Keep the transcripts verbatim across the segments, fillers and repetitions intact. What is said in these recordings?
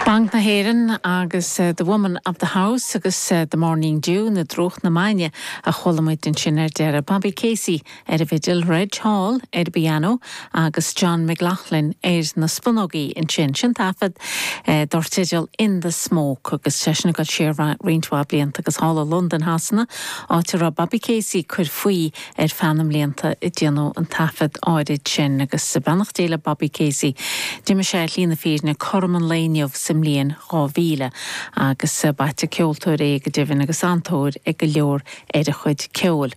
Banc na hÉireann agus The Woman of the House agus The Morning Dew nó Drúcht na Maidine a chuala muid ansin ar deireadh. Bobby Casey ar an bhfidil Reg Hall ar an bpianó agus John McLaughlin ar na spúnógaí ansin sin taifead dar teideal In the Smoke agus sé sin go sé roinnt mhaith blianta agus thall i Londain Shasana áit a raibh Bobby Casey ag cur faoi ar feadh na mblianta a déanadh an taifead áirid sin agus beannacht Dé le Bobby Casey. D'imigh sé ar shlí na fírinne cothrom an lae inniu sa mbliain dhá mhíle agus b'ait an ceoltóir é go deimhin agus an-tóir ag go leor ar a chuid ceoil.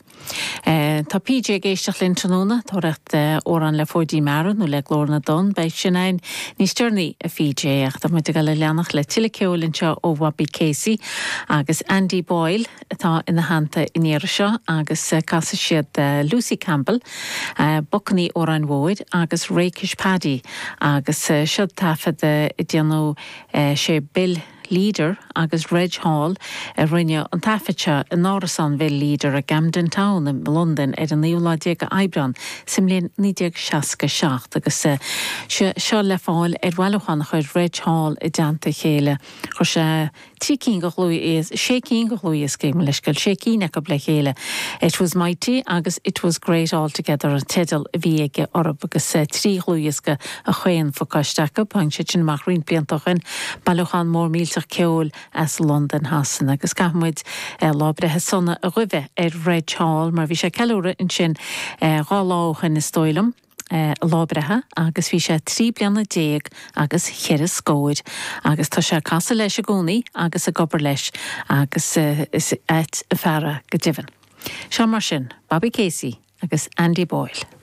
Uh, tá PJ ag éisteacht linn tráthnóna tóraíocht amhrán le Fóidín Meara nó le Glór na dTonn beidh sin ann níos deireanaí a PJ ach tá muid ag dul a leanacht le tuilleadh ceoil anseo ó Bobby Casey agus Andy Boyle atá ina theannta an iarraidh seo agus uh, casfaidh siad uh, Lucy Campbell, uh, Bucanaí Óráin Mhóir agus Rakish Paddy agus uh, seo taifead uh, déanadh uh, sé Bill Leader agus Reg Hall a rinne an taifead seo in árasán Bill Leader i Camden Town in London ar an naoú lá déag Aibreán sa mbliain naoi déag seasca seacht agus seo le fáil ar bhailiúchán a chuir Reg Hall i dteannta chéile chuir sé trí cinn de dhlúthdhioscaí sé cinn de dhlúthdhioscaí leis go sé cinn acu le chéile. It was mighty agus it was great altogether an teideal a bhí aige orthu agus trí dhlúthdhiosca a chaon phacáiste acu tháinig sé sin amach roinnt blianta ó shin bailiúchán mór millteach ceoil as Londain Shasana agus caithfimid lá breithe sona a ghuí ar Reg Hall mar bhí sé ceiliúradh ansin dhá lá ó shin is dóigh liom. lá breithe agus bhí sé trí bliana déag agus cheithre scór agus tá sé ag casadh leis i gcónaí agus ag obair leis agus is ait an fear é go deimhin. Seo mar sin, Bobby Casey agus Andy Boyle.